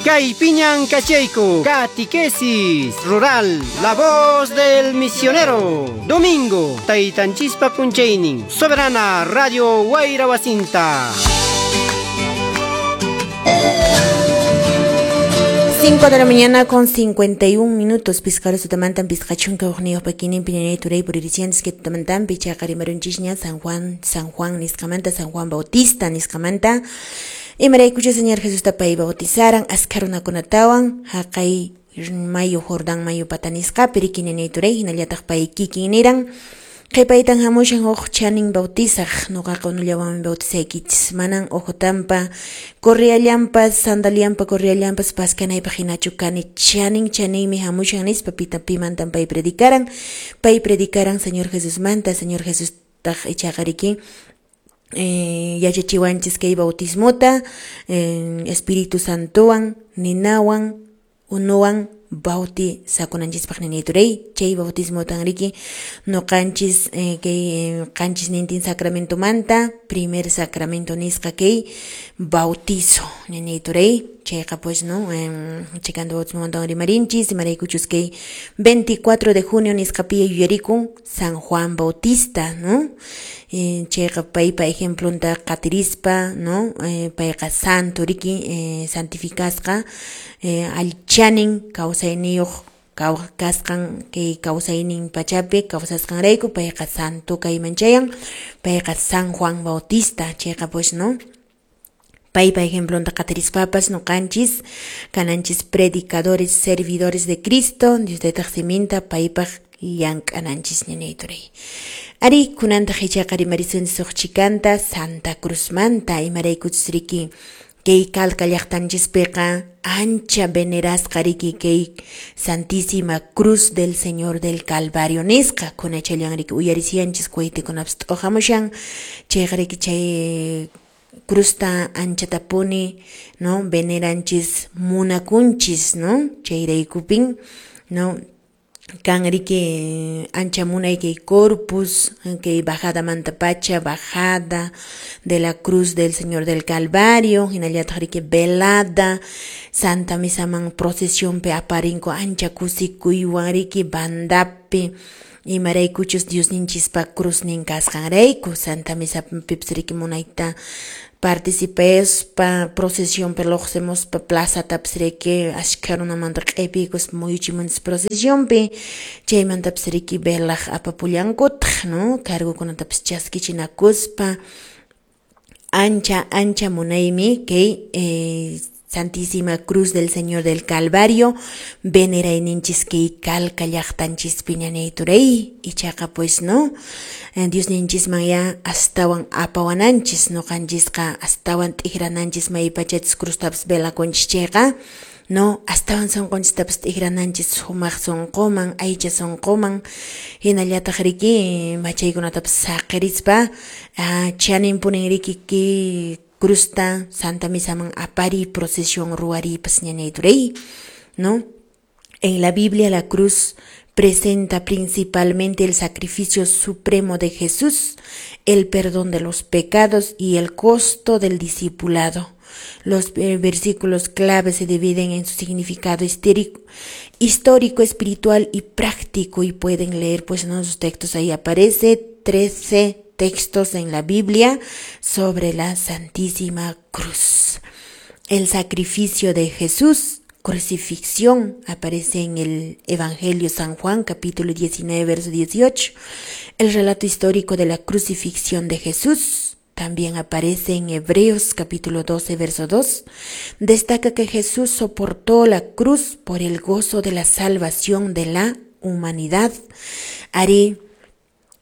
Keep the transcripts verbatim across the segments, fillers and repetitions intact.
Kaypiñan kachayku, Catequesis Rural, La Voz del Misionero. Domingo, Taytanchispa p'unchaynin, Soberana Radio Wayra Wasinta. cinco de la mañana con cincuenta y un minutos, piscaro sutamantan piscachunca ojnio paquinin piñanay turay puririciantes que tutamantan pichaqarimarunchisña San Juan, San Juan nisqamanta, San Juan Bautista nisqamanta. Imaraykucha Señor Jesús tapay bautizaran, askarunakunatawan, haqay mayu Jordán mayu patanisqapi rikiñanay turay, hinallataq pay kikin niran. Qhipaytan hamushan huk chanin bautizaq, nuqaqa unullawanmi bautizaykichis, manan uhutampa, corriallampas, sandaliampa, corriallampas, paskanaypaq hinachu kani, chanin chaninmi hamushan nispa pita pimantan pay predicaran, pay predicaran Señor Jesusmanta, Señor Jesús taq ichaqa riki, eh, yachachiwanchis kay bautismota, eh, Espíritu Santowan, ninawan, unuwan, bautizakunanchispaq ninayturay, chay bautismotan riki nuqanchis eh, kay qanchis nintin sacramentomanta, primer sacramento nisqa kay bautizo ninayturay, chayqa pues no, eh, chikanta bautismomantawan rimarinchis, imaraykuchus kay veinticuatro de junio nisqapiya yuyarikun San Juan Bautista, no? Eh, chayqa paypa ejemplonta qatirispa, no? Eh, payqa santo riki, eh, santificasqa, eh, allchanin kawsayniyuq kasqan kay kawsaynin pachapi kawsasqanrayku payqa santo kayman chayan, payqa San Juan Bautista, chayqa pues no, paypa ejemplonta qatirispapas nuqanchis kananchis predicadores, servidores de Cristo, Dios taytaq siminta paypaq llank'ananchis ninayturay. Ari kunantaq ichaqa rimarisunchis huk chikanta Santa Cruzmanta, imaraykuchus riki kay Calca llaqtanchispiqa ancha venerasqa riki kay Santísima Cruz del Señor del Calvario nisqa, kunachallan riki uyarisianchis cohetekunapas t'uhamushan, chayqa riki chay cruzta anchatapuni, no, veneranchis munakunchis, no, chayraykupin, no, kan riki ancha munay kay corpus, kay bajada mantapacha, bajada de la Cruz del Señor del Calvario, hinallataq riki velada, Santa Misaman procesionpi aparinku ancha kusikuywan riki bandapi, imaraykuchus Diosninchispa cruznin kasqanrayku, Santa Misapipis riki munayta participespa procesionpi lluqsimuspa plazatapis riki ashkha runamanta q'ipiykuspa muyuchimunchis procesionpi, chaymantapis riki velaq apapullankutaq, no, cargokunatapis chaskichinakuspa, ancha ancha munaymi kay eh, Santísima Cruz del Señor del Calvario, venerayninchis kay Calca llaqtanchispi ñanayturay, ichaqa pues no, Diosninchisman ya astawan apawananchis, nuqanchisqa astawan t'ikrananchis maypachachis cruztapas velakunchis chayqa, no, astawan sunqunchistapas t'ikrananchis sumaq sunquman, aycha sunquman, hinallataq riki machaykunatapas saqirispa, chaninpunin riki kay cruzta Santa Misaman apari procesión ruaripas ñanayturay, ¿no? En la Biblia la cruz presenta principalmente el sacrificio supremo de Jesús, el perdón de los pecados y el costo del discipulado. Los eh, versículos clave se dividen en su significado histórico, histórico, espiritual y práctico, y pueden leer pues en sus textos, ahí aparece trece textos en la Biblia sobre la Santísima Cruz. El sacrificio de Jesús, crucifixión, aparece en el Evangelio San Juan, capítulo diecinueve, verso dieciocho. El relato histórico de la crucifixión de Jesús también aparece en Hebreos, capítulo doce, verso dos. Destaca que Jesús soportó la cruz por el gozo de la salvación de la humanidad. Ari,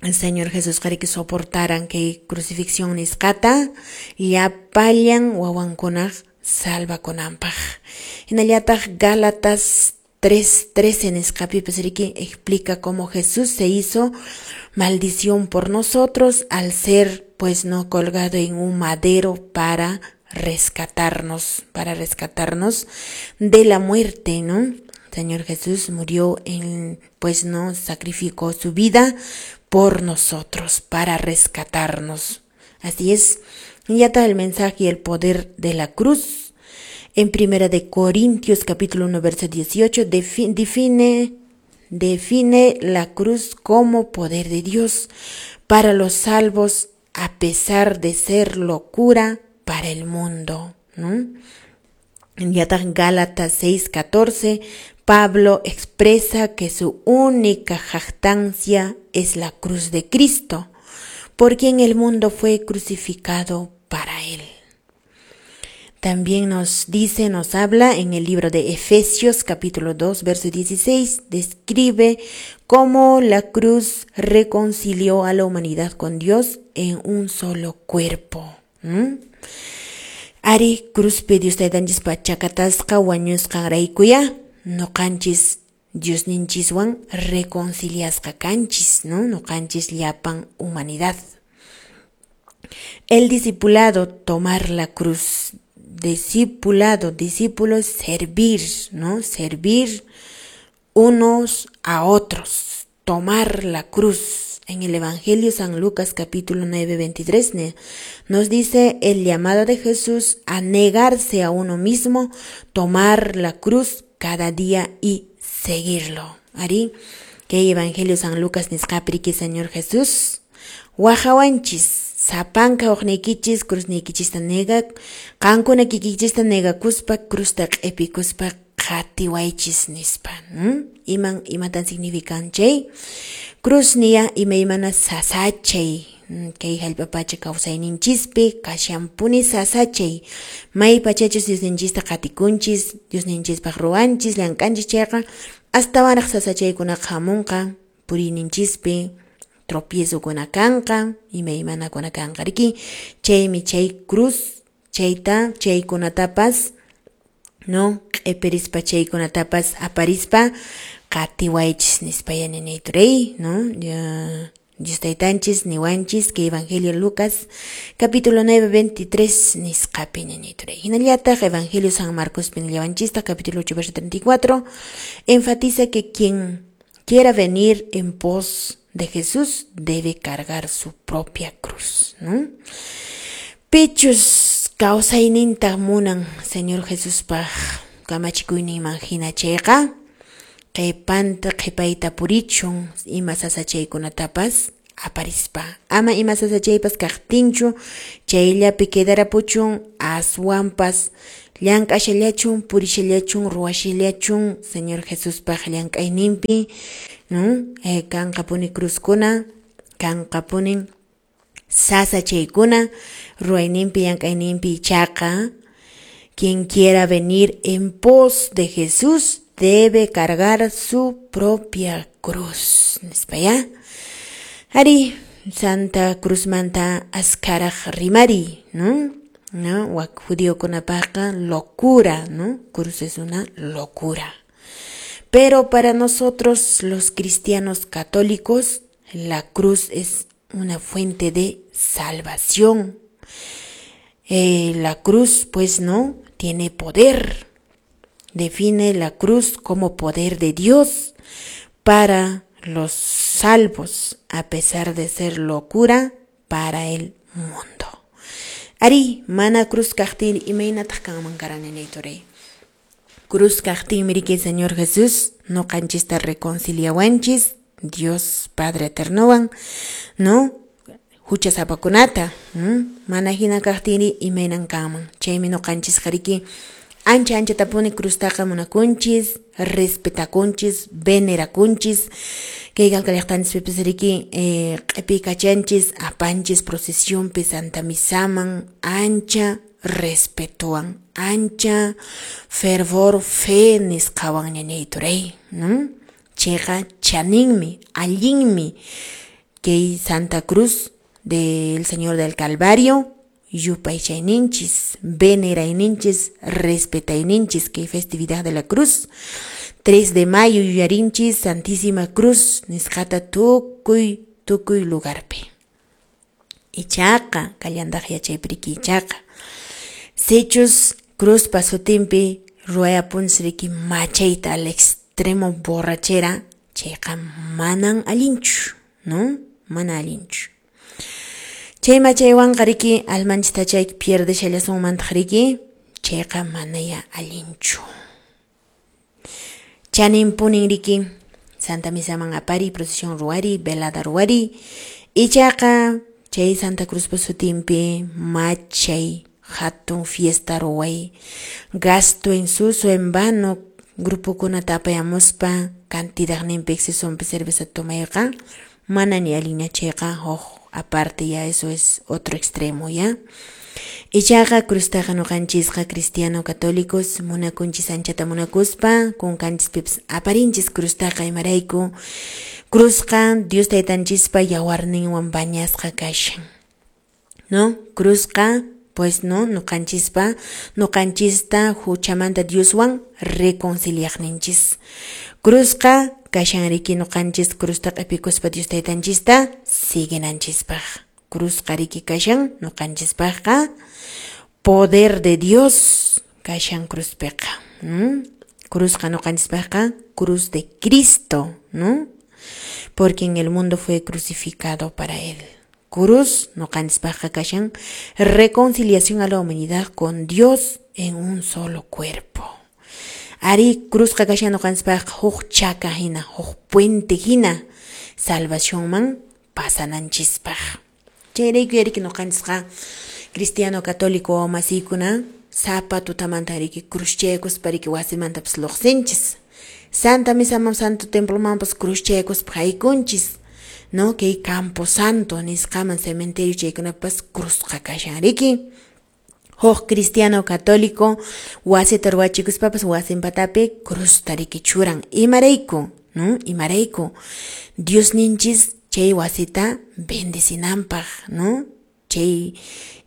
el Señor Jesús quiere que soportaran que crucifixión nisqata llapallan wawankunaq salvakunanpaq. Hinallataq Gálatas tres trece nisqapipas riki explica cómo Jesús se hizo maldición por nosotros al ser pues no colgado en un madero para rescatarnos, para rescatarnos de la muerte, ¿no? Señor Jesús murió en, pues no, sacrificó su vida por nosotros, para rescatarnos. Así es. Y ya está el mensaje y el poder de la cruz. En Primera de Corintios capítulo uno verso dieciocho define, define la cruz como poder de Dios para los salvos, a pesar de ser locura para el mundo, ¿no? En Gálatas seis catorce, Pablo expresa que su única jactancia es la cruz de Cristo, por quien el mundo fue crucificado para él. También nos dice, nos habla en el libro de Efesios capítulo dos, verso dieciséis, describe cómo la cruz reconcilió a la humanidad con Dios en un solo cuerpo. ¿Mm? Ari cruzpi Dios taytanchispa chakatasqa wañusqanraykuya nuqanchis Diosninchiswan reconciliasqa kanchis, ¿no? Nuqanchis llapan humanidad. El discipulado, tomar la cruz. Discipulado, discípulos, servir, ¿no? Servir unos a otros, tomar la cruz. En el Evangelio San Lucas capítulo nueve, veintitrés nos dice el llamado de Jesús a negarse a uno mismo, tomar la cruz cada día y seguirlo. Ari, que Evangelio San Lucas nisqapriki Señor Jesús, wajawanchis, sapanka uqniykichis cruzniykichista nega, qankuna kikichista negakuspa cruzta q'epikuspa qhatiwaychis nispa. Iman imatan significan chay? Cruz niya imaymana sasachay, kay hallp'a pacha kawsayninchispi kashanpuni sasachay, may pachachus Diosninchista qatikunchis, Diosninchispaq ruwanchis, llank'anchis chayqa astawanraq sasachaykunaqa hamunqa puriyninchispi, tropiezokuna kanqa, imaymanakuna kanqa riki, chaymi chay cruz chayta chaykunatapas, no, q'ipirispa chaykunatapas aparispa qatiwaychis nispa yaninayturey, no, ya Dios taytanchis niwanchis que Evangelio Lucas capítulo nueve, veintitrés nisqapi ninayturey. Hinallataq Evangelio San Marcos pinillawanchista capítulo ocho, verso treinta y cuatro enfatiza que quien quiera venir en pos de Jesús debe cargar su propia cruz, ¿no? Pichus kawsayninta munan Señor Jesuspaq kamachikuyninman hina chayqa qhipanta qhipayta purichun ima sasachaykunatapas aparispa, ama ima sasachaypas kaqtinchu chayllapi quedarapuchun, aswanpas llank'ashallachun purishallachun ruwashallachun Señor Jesuspaq llank'ayninpi, ¿no? Eh, kanqapuni cruzkuna, kanqapuni sasachaykuna ruwayninpi llank'ayninpi ichaqa quien quiera venir en pos de Jesús debe cargar su propia cruz. Nispa ya. Ari, Santa Cruz manta askaraj rimari, ¿no? ¿No? Wak judíokunapaqa locura, ¿no? Cruz es una locura. Pero para nosotros los cristianos católicos, la cruz es una fuente de salvación. Eh, la cruz, pues, ¿no? Tiene poder. Define la cruz como poder de Dios para los salvos, a pesar de ser locura para el mundo. Ari, mana cruz kaqtin imaynataq kanman karan ninayturay. Cruz kaqtin miriki Señor Jesús nuqanchista reconciliawanchis Dios Padre Eternowan, ¿no? Huchasapakunata, mana hina kaqtiri imaynan kanman. Chaymi nuqanchis qariki ancha ancha tapuni cruztaqa munakunchis, respetakunchis, venerakunchis, kay qalqallaqtanchispipis riki eh, q'ipikachanchis, apanchis procesionpi Santa Misaman, ancha respetuan, ancha fervor fe nisqawan ñañayturay, ¿no? Chayqa chaninmi, allinmi kay Santa Cruz del Señor del Calvario yupaychayninchis, venerayninchis, respetayninchis kay festividad de la cruz. tres de mayo yuyarinchis Santísima Cruz nisqata tukuy tukuy lugarpi. Ichaqa kallandaq yachaypiriki ichaqa sichus cruzpa sutinpi ruwayapunchis riki machayta al extremo borrachera, chayqa manan allinchu, ¿no? Mana allinchu. Chay machaywanqa riki almanchista chay pierdeshallasunmantaq riki, Chayqa manaya allinchu. Chaninpunin riki Santa Misaman apari, procesión ruwari, velada ruwari, ichaqa chay Santa Cruzpa sutinpi machay hatun fiesta ruway, gasto en suso en vano, grupokunata apayamuspa cantidadninpi excesonpi cerveza tomayqa mana ni allinña chayqa huk aparte ya eso es otro extremo ya. Ichaqa cruztaqa ñuqanchisqa cristiano católicos munakunchis anchata munakuspa kunkanchispipas aparinchis cruztaqa imarayku cruzqa Dios taytanchispa yawarninwan bañasqa kashan, ¿no? Cruzqa pues no ñuqanchispa ñuqanchista huchamanta Dioswan reconciliaqninchis. Cruzqa kashan riki ñuqanchis cruzta q'ipikuspa Dios taytanchista siguinanchispaq. Cruzqa riki kashan ñuqanchispaqqa poder de Dios kashan cruzpiqa, ¿no? Cruzqa ñuqanchispaqqa cruz de Cristo, ¿no? Porque en el mundo fue crucificado para él. Cruz ñuqanchispaqqa kashan reconciliación a la humanidad con Dios en un solo cuerpo. Ari cruzqa kashan ñuqanchispaqqa huk chaka hina, huk puente hina salvacionman pasananchispaq. Chayrayku yariki ñuqanchisqa cristiano católico masiykuna sapa tutamanta riki cruzchaykuspa riki wasimantapas lluqsinchis. Santa misaman santo templomanpas cruzchaykuspa haykunchis, no? Kay Campo Santo nisqaman cementerio chaykunapas cruzqa kashan riki. Huk cristiano católico wasita ruwachikuspapas wasin patapi cruzta riki churan. Imarayku, no? Imarayku Diosninchis chay wasita bendecinanpaq, no? Chay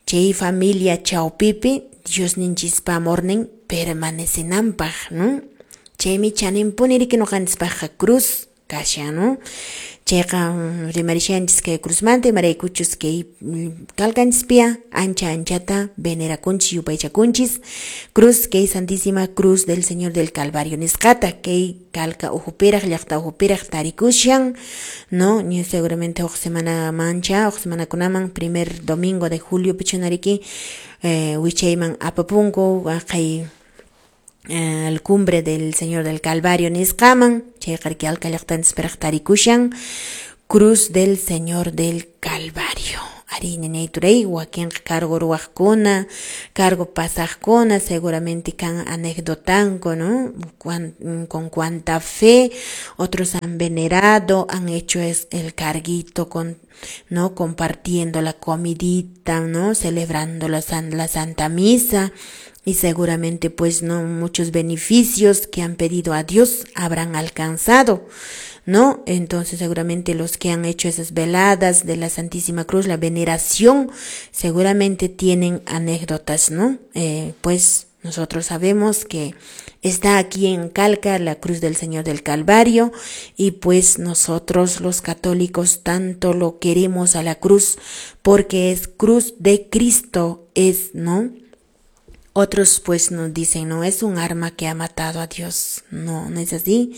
chay familia chawpipi Diosninchispa amornin permanecinanpaq, no? Chaymi chaninpuni riki ñuqanchispaqqa cruz kashan, no? Chayqa rimarishanchis kay cruzmanta imaraykuchus kay kalkanchispia ancha anchata venerakunchis yupaychakunchis cruz kay Santísima Cruz del Señor del Calvario nisqata kay kalka uhupiraq llaqta uhupiraq tarikushan, no? Ni seguramente huk semana mancha huk semanakunaman primer domingo de julio pichunariki eh, wichayman apapunku kay el cumbre del Señor del Calvario nisqaman chayqa riki alka llaqtanchispiraq tarikushan Cruz del Señor del Calvario. Ari ñañay turay wakinqa cargo ruwaqkuna, cargo pasaqkuna seguramente kan anecdotanku, ¿no? Cuan, con cuánta fe otros han venerado, han hecho es el carguito con, ¿no? Compartiendo la comidita, ¿no? Celebrando la, san, la Santa Misa. Y seguramente pues no muchos beneficios que han pedido a Dios habrán alcanzado, ¿no? Entonces seguramente los que han hecho esas veladas de la Santísima Cruz, la veneración, seguramente tienen anécdotas, ¿no? Eh, pues nosotros sabemos que está aquí en Calca la Cruz del Señor del Calvario y pues nosotros los católicos tanto lo queremos a la cruz porque es cruz de Cristo, es, ¿no? Otros pues nos dicen, no, es un arma que ha matado a Dios. No, no es así.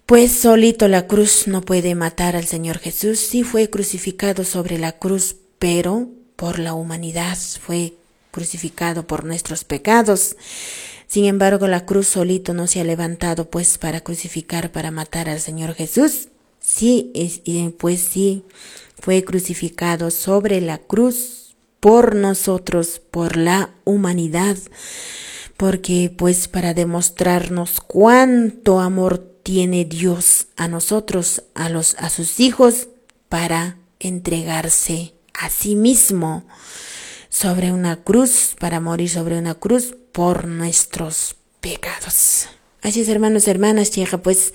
Pues solito la cruz no puede matar al Señor Jesús. Sí fue crucificado sobre la cruz, pero por la humanidad fue crucificado por nuestros pecados. Sin embargo, la cruz solito no se ha levantado pues para crucificar, para matar al Señor Jesús. Sí, es, pues sí, fue crucificado sobre la cruz por nosotros, por la humanidad, porque pues para demostrarnos cuánto amor tiene Dios a nosotros, a los a sus hijos, para entregarse a sí mismo sobre una cruz, para morir sobre una cruz por nuestros pecados. Así es, hermanos, hermanas, llega pues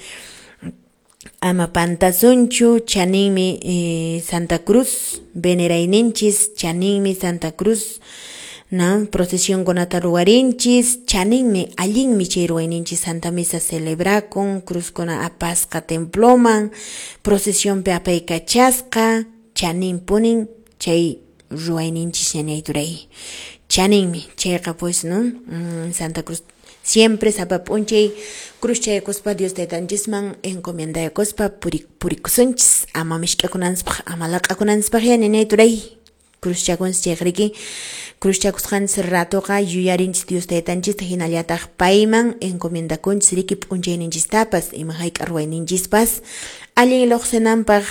ama pantasunchu, chaninmi eh, Santa Cruz, venerayninchis, chaninmi Santa Cruz, ¿no? Procesión kunata ruwarinchis, chaninmi, allinmi chay ruwayninchis Santa Misa celebrakun, cruzkuna apasqa temploman, procesionpi apaykachasqa, chaninpunin chay ruwayninchis ñañay turay. Chaninmi, chayqa pues, ¿no? Mm, Santa Cruz siempre sapa p'unchay cruzchaykuspa Dios taytanchisman encomiendaykuspa puri purikusunchis ama mishk'akunanchispaq ama laq'akunanchispaq ya ñañay turay cruzchakunchis chayqa riki Cruzchakusqanchis ratoqa yuyarinchis Dios taytanchista hinallataq payman encomendakunchis riki p'unchayninchistapas ima hayk'a ruwayninchispas allin lluqsinanpaq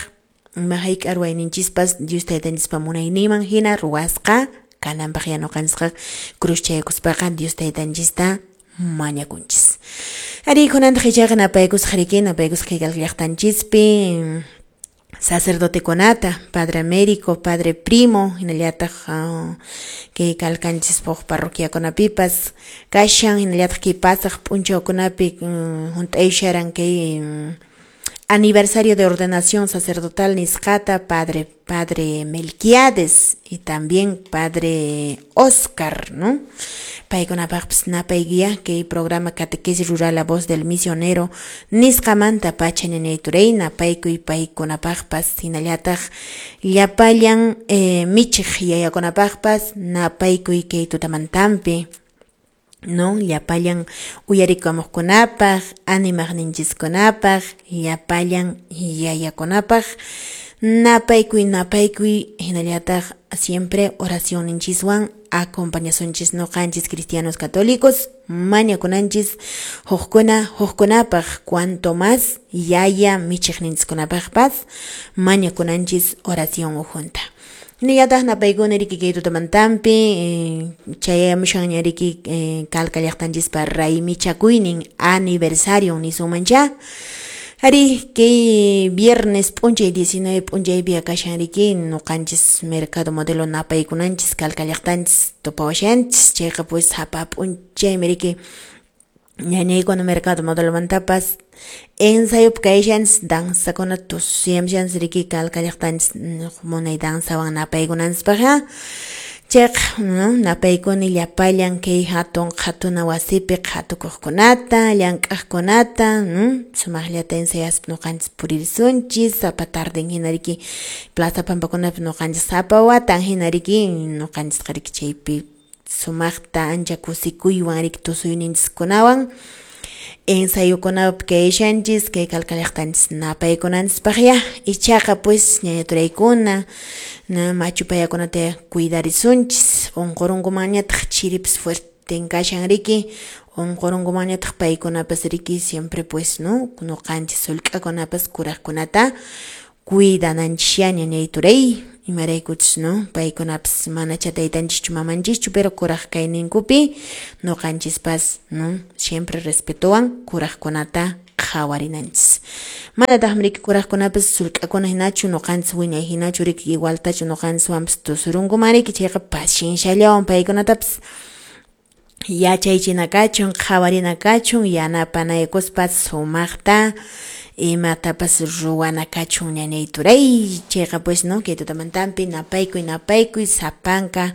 ima hayk'a ruwayninchispas Dios taytanchispa munayninman hina ruwasqa kananpaq ya ñuqanchisqa cruzchaykuspaqa Dios taytanchista mañakunchis. Ari kunantaq ichaqa napaykusaq riki napaykusaq kay llaqtanchispi sacerdotekunata, Padre Américo, Padre Primo, hinallataq uh, kay kalkanchispaq parroquiakunapipas kashan hinallataq kay pasaq p'unchawkunapi um, hunt'aysharan kay um, aniversario de ordenación sacerdotal nisqata Padre Padre Melquiades y también Padre Oscar, ¿no? Paykunapaqpis napayguia kay programa Catequesis Rural La Voz del Misionero nisqamanta pacha ñañayturay napaykuy paykunapaqpas hinallataq llapallan eh, michiq yayakunapaqpas napaykuy kay tutamantampi, no, llapallan uyarikamuqkunapaq, animaqninchiskunapaq, llapallan yayakunapaq napaykuy napaykuy hinallataq siempre oracionninchiswan acompañasunchis ñuqanchis cristianos católicos mañakunanchis hukkuna hukkunapaq cuanto más yaya michiqninchiskunapaqpas mañakunanchis oración ujunta. Hinallataq napaykuna riki kay tutamantampi eh, chayamushanña riki eh, Calca llaqtanchispa raymichakuynin aniversario nisunmancha. Ari kay viernes p'unchay diecinueve p'unchaypi kashan riki ñuqanchis mercado modelo napaykunanchis Calca llaqtanchis tupawashanchis chayqa pues sapa p'unchaymi riki ñañaykuna mercado modelomantapas ensayopi kayshanchis danzakuna tusuyamshanchis riki Calca llaqtanchis munay danzawan napaykunanchispaqqa chayqa no napaykuni llapallan kay hatun qhatuna wasipi qhatukuqkunata llank'aqkunata no sumaqllata ensayaspa ñuqanchis puririsunchis sapa tarden hina riki plaza pampakunapi ñuqanchis sapa watan hina riki ñuqanchisqa riki chaypi sumaqta ancha kusikuywan riki tusuyninchiskunawan ensayukunapi kayshanchis kay Calca llaqtanchis napaykunanchispaq ya ichaqa pues ñañaturaykuna na machupayakunata cuidarisunchis unqurunkumanñataq chiripas fuerten kashan riki unqurunkumanñataq paykunapas riki siempre pues no ñuqanchis sullk'akunapas kuraqkunata cuidananchis ñañayturay imaraykuchus no paykunapas manacha taytanchischu mamanchischu pero kuraq kayninkupi ñuqanchispas no siempre respetowan kuraqkunata qhawarinanchis manataqmi riki kuraqkunapas sullk'akuna hinachu ñuqanchis wiñay hinachu riki igualtachu ñuqanchiswanpas tusurunkuman riki chayqa pacienciallawan paykunatapas yachaychina kachun qhawarina kachun yanapanaykuspa sumaqta imatapas ruwana kachun ñañayturay chayqa pues no kay tutamantampi napaykuy napaykuy sapanka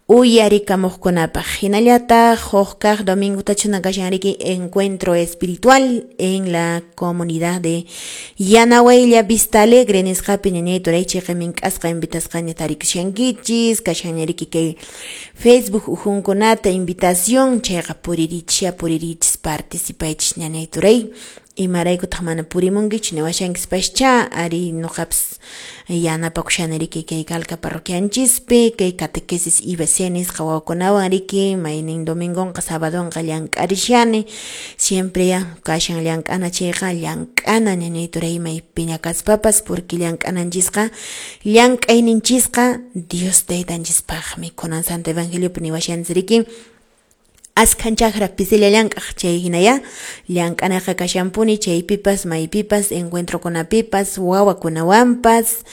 uyarikamuqkunapaq hinallataq huk kaq domingo tachuna kashan riki encuentro espiritual en la comunidad de Yanahuaylla Vista Alegre nisqapi ñañayturay chayqa mink'asqa invitasqaña tarikushankichis kashanña riki kay Facebook ujunkunata invitación chayqa puririchis puririchis participaychis ñañayturay imaraykutaq mana purimunkichu niwashankispascha ari ñuqapas yanapakushani riki kay Calca parroquianchispi kay catequesis I B C nisqa wawakunawan riki maynin domingonqa sabadonqa llank'arishani siempre ya kashan llank'ana chayqa llank'ana ñañayturay maypiña kaspapas porque llank'ananchisqa llank'ayninchisqa Dios taytanchispaqmi kunan Santo Evangeliopi niwashanchis riki askhan chakra pisilla llank'aq chay hinaya llank'anaqa kashanpuni chaypipas maypipas encuentrokunapipas wawakunawanpas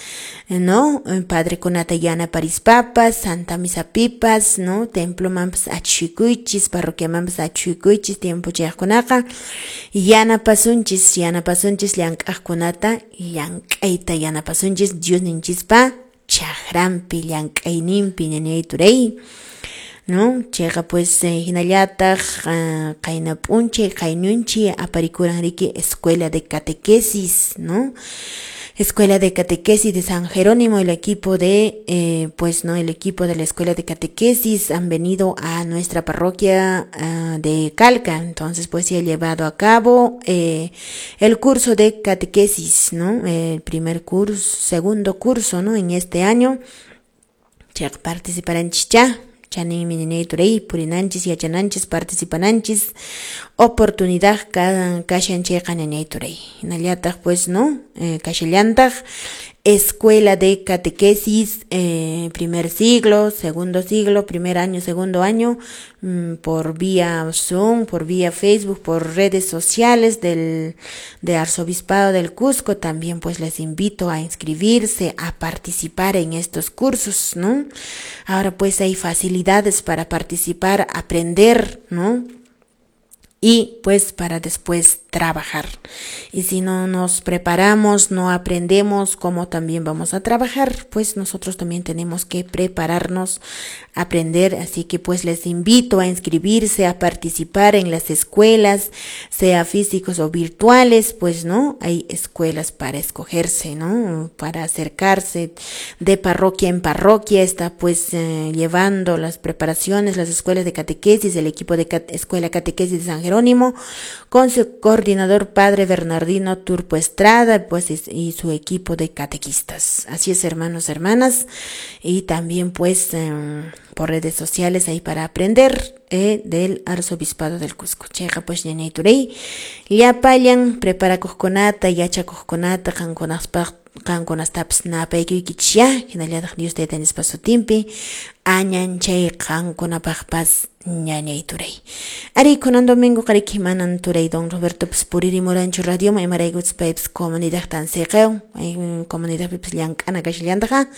no padrekunata yanaparispapas santa misapipas no templomanpas achhikuychis parroquiamanpas achhikuychis tiempo chayaqkunaqa yanapasunchis yanapasunchis llank'aqkunata llank'ayta yanapasunchis Diosninchispa chakranpi llank'ayninpi ñañayturay no chayqa pues eh, hinallataq uh, qayna p'unchay qayñunchi aparikuran riki escuela de catequesis no Escuela de Catequesis de San Jerónimo, el equipo de, eh, pues no, el equipo de la Escuela de Catequesis han venido a nuestra parroquia uh, de Calca, entonces pues se ha llevado a cabo eh, el curso de catequesis, ¿no? El primer curso, segundo curso, ¿no? En este año, participarán chicha. Chaninmi ñañay turay purinanchis, yachananchis, participananchis, oportunidad kashan chayqa ñañay turay. Hinallataq pues, ¿no? Eh, kashallantaq Escuela de Catequesis, eh, primer siglo, segundo siglo, primer año, segundo año, mmm, por vía Zoom, por vía Facebook, por redes sociales del de Arzobispado del Cusco. También pues les invito a inscribirse, a participar en estos cursos, ¿no? Ahora pues hay facilidades para participar, aprender, ¿no? Y pues para después trabajar. Y si no nos preparamos, no aprendemos cómo también vamos a trabajar, pues nosotros también tenemos que prepararnos, aprender. Así que pues les invito a inscribirse, a participar en las escuelas, sea físicos o virtuales, pues no, hay escuelas para escogerse, ¿no? Para acercarse de parroquia en parroquia, está pues eh, llevando las preparaciones, las escuelas de catequesis, el equipo de cat- Escuela Catequesis de San Jerónimo, con su coordinador padre Bernardino Turpo Estrada, pues y su equipo de catequistas. Así es, hermanos, hermanas, y también pues eh, por redes sociales ahí para aprender eh, del Arzobispado del Cusco. Chayqa pues ñañay turay, llapallan preparakuqkunata, yachakuqkunata, qankunaspaq qankunastapas napaykuykichis, hinallataq Dios Taytanchispa sutinpi añanchay qankunapaqpas ñañay turay. Ari kunan domingo qariki manan turay don Roberto pues puririmuranchu radioman, imaraykuchus paypas comunidadtan siqawan, comunidadpipas llank'ana kashallantaqa,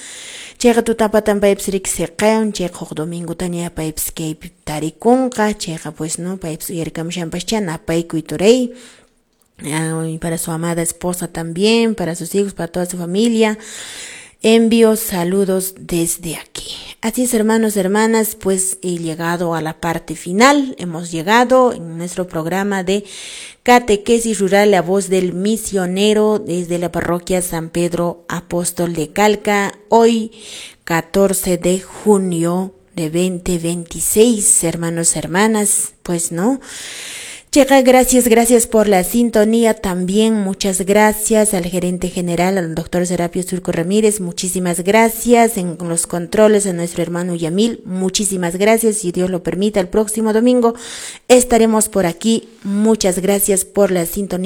chayqa tutapatan paypas riki siqawan, chayqa huk domingotaña paypas kaypi tarikunqa, chayqa pues no paypas uyarikamushanpascha napaykuy turay. Y para su amada esposa también, para sus hijos, para toda su familia. Envío saludos desde aquí. Así es, hermanos, hermanas, pues he llegado a la parte final. Hemos llegado en nuestro programa de Catequesis Rural, la voz del misionero, desde la parroquia San Pedro Apóstol de Calca. Hoy, catorce de junio de veinte veintiséis, hermanos, hermanas, pues no. Checa, gracias, gracias por la sintonía también. Muchas gracias al gerente general, al doctor Serapio Surco Ramírez. Muchísimas gracias en los controles a nuestro hermano Yamil. Muchísimas gracias. Si Dios lo permite, el próximo domingo estaremos por aquí. Muchas gracias por la sintonía.